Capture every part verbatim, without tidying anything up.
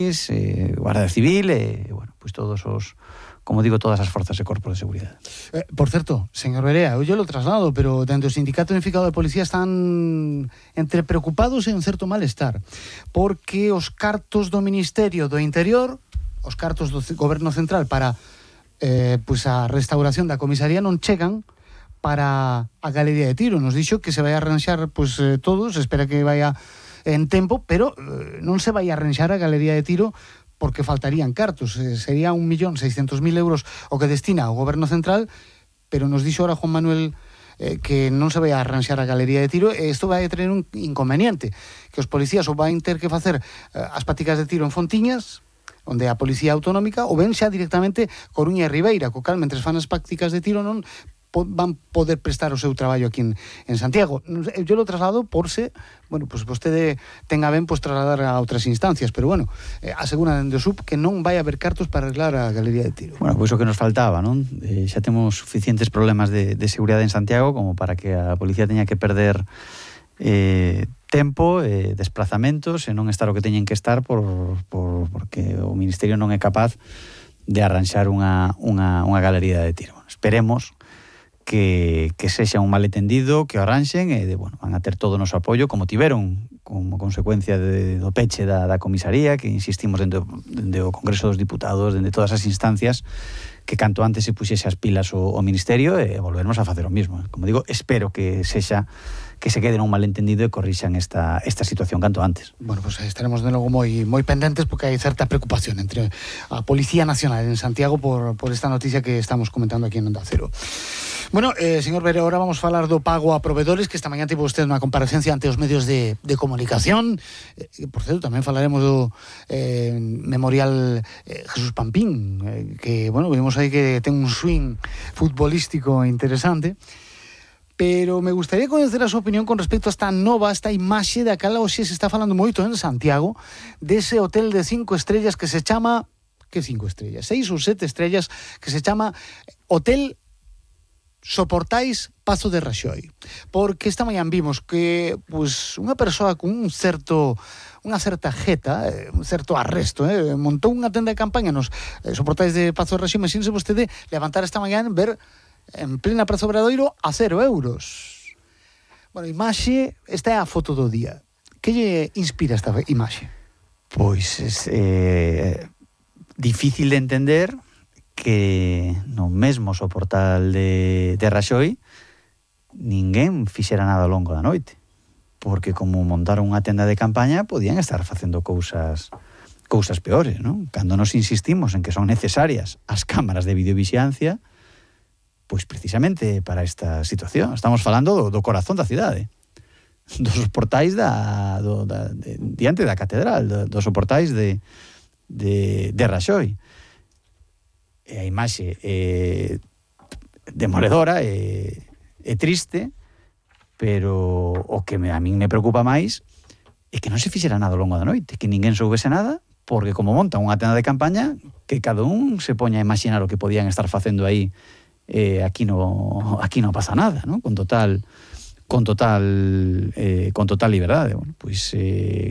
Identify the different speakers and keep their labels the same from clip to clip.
Speaker 1: eh, Guardia Civil e, eh, bueno, pois todos os, como digo, todas as forzas e corpos de seguridade.
Speaker 2: Eh, por certo, señor Berea, eu lo traslado, pero dentro do Sindicato Unificado de Policía están entre preocupados e un certo malestar, porque os cartos do Ministerio do Interior, os cartos do Goberno Central para eh, pues a restauración da comisaría non chegan para a galería de tiro. Nos dixo que se vai a arranxar pues, eh, todo, se espera que vaya en tempo, pero eh, non se vai a arranxar a galería de tiro porque faltarían cartos. Eh, sería un millón seiscentos mil euros o que destina ao Goberno Central, pero nos dixo ahora Juan Manuel eh, que non se vai a arranxar a galería de tiro, e isto vai a tener un inconveniente, que os policías ou van ter que facer eh, as prácticas de tiro en Fontiñas, onde a Policía Autonómica, ou ben xa directamente Coruña e Ribeira, co cal, mentres fan as prácticas de tiro, non po, van poder prestar o seu traballo aquí en, en Santiago. Eu lo traslado por se, bueno, pues vostede tenga ben pues, trasladar a outras instancias, pero bueno, eh, asegura dende o S U P que non vai haber cartos para arreglar a galería de tiro.
Speaker 1: Bueno, pois o que nos faltaba, non? Eh, xa temos suficientes problemas de, de seguridade en Santiago como para que a policía teña que perder eh, tempo, eh, desplazamentos e non estar o que teñen que estar por, por, porque o Ministerio non é capaz de arranxar unha, unha, unha galería de tiro. Bueno, esperemos que, que sexa un malentendido, que o arranxen e de, bueno, van a ter todo o noso apoio como tiveron como consecuencia de, do peche da, da comisaría, que insistimos dende, dende o Congreso dos Diputados, dende todas as instancias, que canto antes se puxese as pilas o, o Ministerio e volvermos a facer o mismo. Como digo, espero que sexa que se queden un malentendido e corrixan esta, esta situación canto antes.
Speaker 2: Bueno, pues estaremos de logo moi moi pendentes porque hai certa preocupación entre a Policía Nacional en Santiago por, por esta noticia que estamos comentando aquí en Onda Cero. Bueno, eh, señor Berea, ahora vamos a falar do pago a proveedores, que esta mañá tivo usted unha comparecencia ante os medios de, de comunicación. Eh, por certo, tamén falaremos do eh, Memorial eh, Jesús Pampín, eh, que, bueno, vimos aí que ten un swing futbolístico interesante. Pero me gustaría conocer a súa opinión con respecto a esta nova, esta imaxe da cal hoxe se está falando moito en Santiago, dese hotel de cinco estrellas que se chama, que cinco estrellas? Seis ou sete estrellas, que se chama Hotel Soportais Pazo de Raxoi. Porque esta mañá vimos que pues, unha persoa con un certo unha certa jeta, un certo arresto, eh, montou unha tenda de campaña nos eh, Soportais de Pazo de Raxoi. Imagínese vostede levantar esta mañá en ver en plena Praza Obradoiro a cero euros. Bueno, imaxe, esta é a foto do día. Que lle inspira esta imaxe?
Speaker 1: Pois é eh, difícil de entender que no mesmo soportal de, de Raxoi ninguén fixera nada ao longo da noite, porque como montaron unha tenda de campaña podían estar facendo cousas cousas peores, non? Cando nos insistimos en que son necesarias as cámaras de videovixiancia, pois precisamente para esta situación. Estamos falando do, do corazón da cidade, dos portais da, do, da, de, diante da catedral, do, dos portais de, de, de Raxoi. E a imaxe é demoledora, é, é triste, pero o que me, a min me preocupa máis é que non se fixera nada ao longo da noite, que ninguén soubese nada, porque como montan unha tenda de campaña, que cada un se poña a imaginar o que podían estar facendo aí. Eh, aquí no aquí no pasa nada, ¿no? Con total con total eh, con total liberdade. Bueno, pois eh,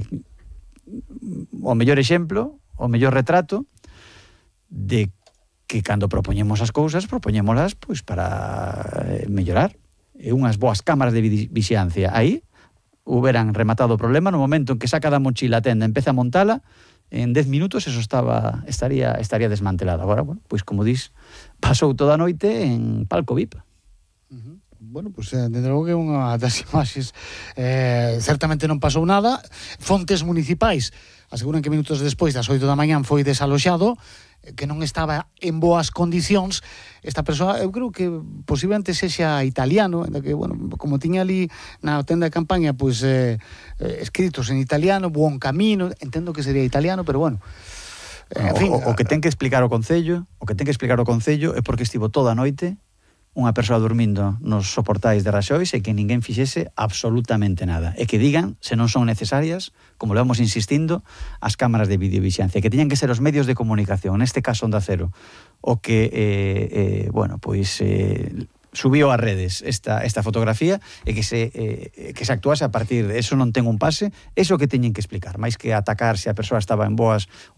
Speaker 1: o mellor exemplo, o mellor retrato de que cando propoñemos as cousas, propoñémolas pois para eh, mellorar. E unhas boas cámaras de vixiancia aí houberan rematado o problema no momento en que saca da mochila a tenda, empeza a montala. En dez minutos eso estaba estaría estaría desmantelado. Agora, bueno, pois como dis, pasou toda a noite en palco V I P.
Speaker 2: Uh-huh. Bueno, pois pues, desde logo que unha das imaxes eh, certamente non pasou nada. Fontes municipais aseguran que minutos despois das oito da mañán foi desaloxado, que non estaba en boas condicións. Esta persoa, eu creo que posiblemente sexa italiano, que, bueno, como tiña ali na tenda de campaña, pois, eh, eh, escritos en italiano, Buon Camino, entendo que sería italiano, pero bueno.
Speaker 1: En fin, o, o, o que ten que explicar o Concello, o que ten que explicar o Concello é porque estivo toda a noite unha persoa dormindo nos soportais de Raxoi e que ninguén fixese absolutamente nada. E que digan, se non son necesarias, como le vamos insistindo, as cámaras de videovixiancia, que teñan que ser os medios de comunicación, neste caso Onda Cero, o que, eh, eh, bueno, pois... Eh, subiu ás redes esta, esta fotografía e que se, eh, que se actuase a partir de eso. Non ten un pase, eso que teñen que explicar, máis que atacar se a persoa estaba en boas ou